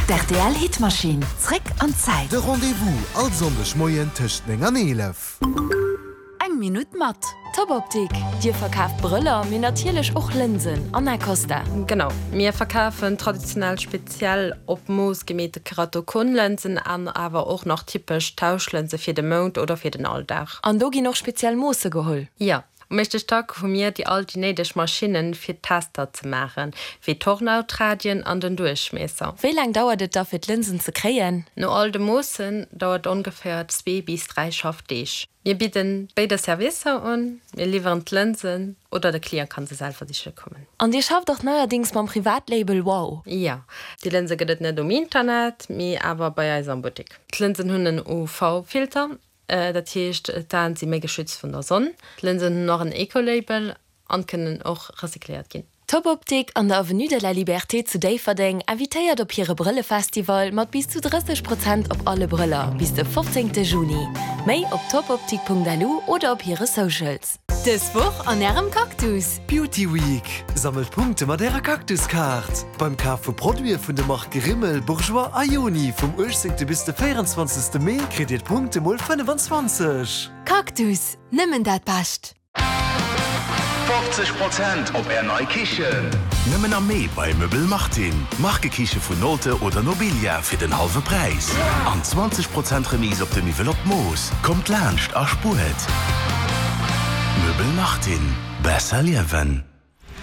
D'RTL Hitmaschinn, zréck an d'Zäit. De Rendez-vous all Sonndeg Moien tëscht 9 an 11. Eng Minutt mat Top Optik! Dir verkaaft Brëller, mee natierlech och Lënsen an Acosta. Genau, mir verkafen traditionell speziell op Mooss gemeete Keratokonlënsen an awer och nach typesch Tauschlënse fir de Mount oder fir den Alldag. An do ginn och speziell Moosse geholl? Jo, Um éischte Stack hu mir déi all déi néideg Maschinnen fir d'Tester ze maachen, wéi d'Hornhautradien an den Duerchmiesser. Wéi laang dauert et da fir d'Lënsen ze kréien? No all de Moossen dauert et ongeféier zwee bis 3 Schaffdeeg. Mir bidden béide Servicer un, mir liwweren d'Lënsen oder de Client kann se selwer siche kommen. An dir schafft och neierdings mam Privatlabel Wow? Jo, déi Lënse gëtt et net um Internet, mee awer bei eis am Buttek. D'Lënsen hunn en UV-Filter Dat heescht, d'Aen si méi geschützt vun der Sonn. D'Lënsen hunn och en Eco-Label an kënnen och recycléiert ginn. Top Optik an der Avenue de la Liberté zu Déifferdeng invitéiert op hire Brëllefestival mat bis zu 30 Prozent op alle Brëller bis de 15 Juni. Méi op topoptik.lu oder op hire Socials. Dës Woch an Ärem Cactus! Beauty Week! Sammelt Punkte mat Ärer Cactus-Kaart! Beim Kaf vu Produite vun de Marke Rimmel, Bourjois a Yoni vum 18. bis de 24. Mee kritt Dir d'Punkte mol 25. Cactus, nëmmen dat Bescht! 50 Prozent op Är nei Kichen! Nëmmen am Mee bei Möbel Martin. Markekiche vun Nolte oder Nobilia fir den hallwe Präis. An 20 Prozent Remise op de Miwwel op d'Mooss. Kommt laanscht a spuert! Möbel Martin. Besser liewen.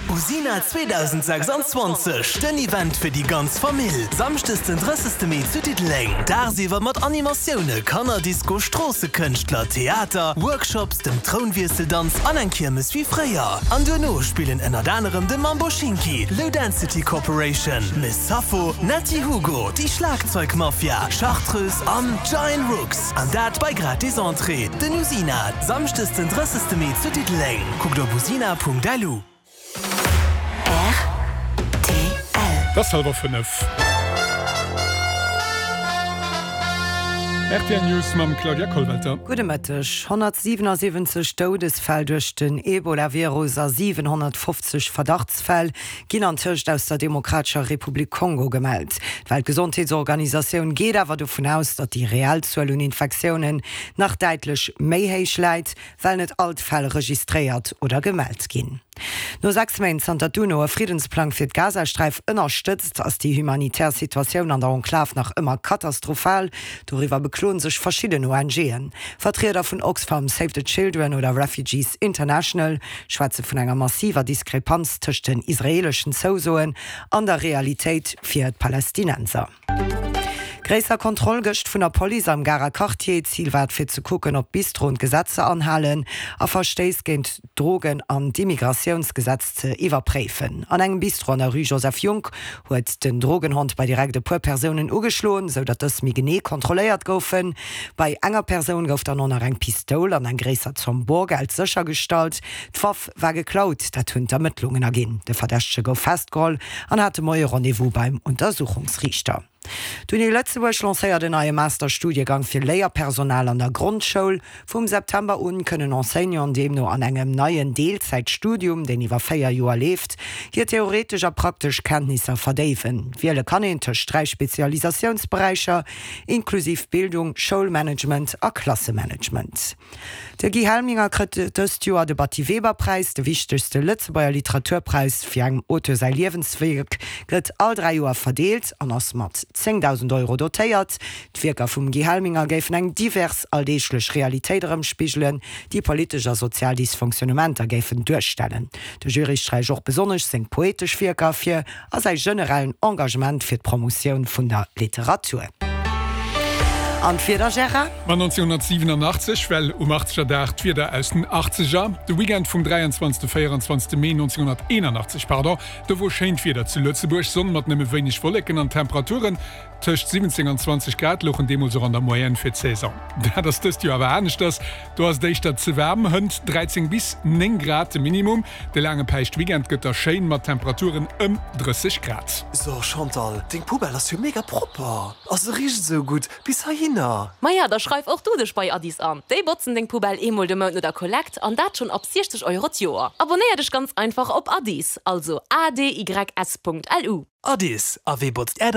Usina 2026, den Event fir déi ganz Famill! Samschdes den 30 Mee zu Diddeleng. Dagsiwwer mat Animatioune, Kannerdisco, Stroossekënschtler, Theater, Workshops, dem Trounwiesseldanz an eng Kiermes wéi fréier. An duerno spillen ënnert anerem de Mambo Schinki, Low Density Corporation, Miss Sappho, Netty Hugo, déi Schlagzeugmafia, Chartreuse an Giant Rooks. An dat bei gratis Entrée. Den Usina, Samschdes den 30 Mee zu Diddeleng. Kuckt op usina.lu. Rtl. Et ass hallwer 5. Rtl News mam Claudia Kollwelter. Gudde Mëtteg. 177 Doudesfäll duerch den Ebola-Virus a 750 Verdachtsfäll ginn antëscht aus der Demokratescher Republik Kongo gemellt. D'Weltgesondheetsorganisatioun geet awer dovun aus, datt déi reell Zuel un Infektiounen nach däitlech méi héich läit. well net all d'Fäll registréiert oder gemellt ginn. No 6 Méint zanter d'UNO e Friddensplang fir d'Gazasträif ënnerstëtzt, ass déi humanitär Situatioun an der Enklav nach ëmmer katastrophal. Doriwwer bekloen sech verschidden ONGen. Vertrieder vun Oxfam, Save the Children oder Refugees International schwätze vun enger massiver Diskrepanz tëscht den israeeleschen Zousoen an der Realitéit fir d'Palästinenser. Gréisser Kontroll gëscht vun der Police am Garer Quartier. Zil war et fir ze kucken, ob d'Bistroen d'Gesetzer anhalen a Verstéiss géint d'Drogen an d'Immigratiounsgesetz ze iwwerpréifen. An engem Bistro an der Rue Joseph Junck huet den Drogenhond bei direkt e puer Persounen ugeschloen, sou datt dës méi genee kontrolléiert goufen. Bei enger Persoun gouf dann och nach eng Pistoul an eng gréisser Zomm Borgeld séchergestallt. D'Waff war geklaut, dat hunn d'Ermëttlungen erginn. De Verdächtege gouf festgeholl an hat de Moie Rendez-vous beim Untersuchungsriichter. D'Uni Lëtzebuerg lancéiert en neie Masterstudiegang fir Léierpersonal an der Grondschoul. Vum September un kënnen Enseignanten deemno an engem neien Deelzäitstudium, deen iwwer 4 Joer leeft, hir theoretesch a praktesch Kenntnisser verdéiwen. Wiele kann een tëscht 3 Spezialisatiounsberäicher, inklusiv Bildung, Schoulmanagement a Klassemanagement. De Guy Helminger krëtt dëst Joer de Batty-Weber-Präis, de wichtegste Lëtzebuerger Literaturpräis fir engem Auteur säi Liewenswierk, gëtt all 3 Joer verdeelt an ass mat 10.000 Euro dotéiert. D'Wierker vum Guy Helminger géifen eng divers alldeeglech Realitéit erëmspigelen, déi politesch a sozial Dysfonctionnementer géifen duerstellen. De Jury sträicht och besonnesch seng poetesch Wierker ervir a säi generellen Engagement fir d'Promotioun vun der Literatur. An d'Wieder, Gérard? Ma 1987, well um Achtzegerdag d'Wieder aus den Achtzeger, de Weekend vum 23. 24. Mee 1981, pardon, do wor schéint Wieder zu Lëtzebuerg, Sonn mat nëmme wéineg Wolleken an Temperaturen tëscht 17 an 20 Grad louchen deemools och an der Moyenne fir d'Saison. Dat ass dëst Joer awer aneschters, do ass et éischter ze waarm, hënt 13 bis 9 Grad de Minimum. De laange Päischtweekend gëtt da schéin mat Temperaturen ëm 30 Grad. So Chantal, deng Poubelle ass jo mega propper a se richt esou gutt bis heihinner. Maja, da schreif och du dech bei Addis an. Déi botzen deng Poubelle eemol de Mount no der Kollekt an dat schonn ab 60 Euro d'Joer. Abonnéier dech ganz einfach op Addis, also adys.lu. Addis, a wee botzt är.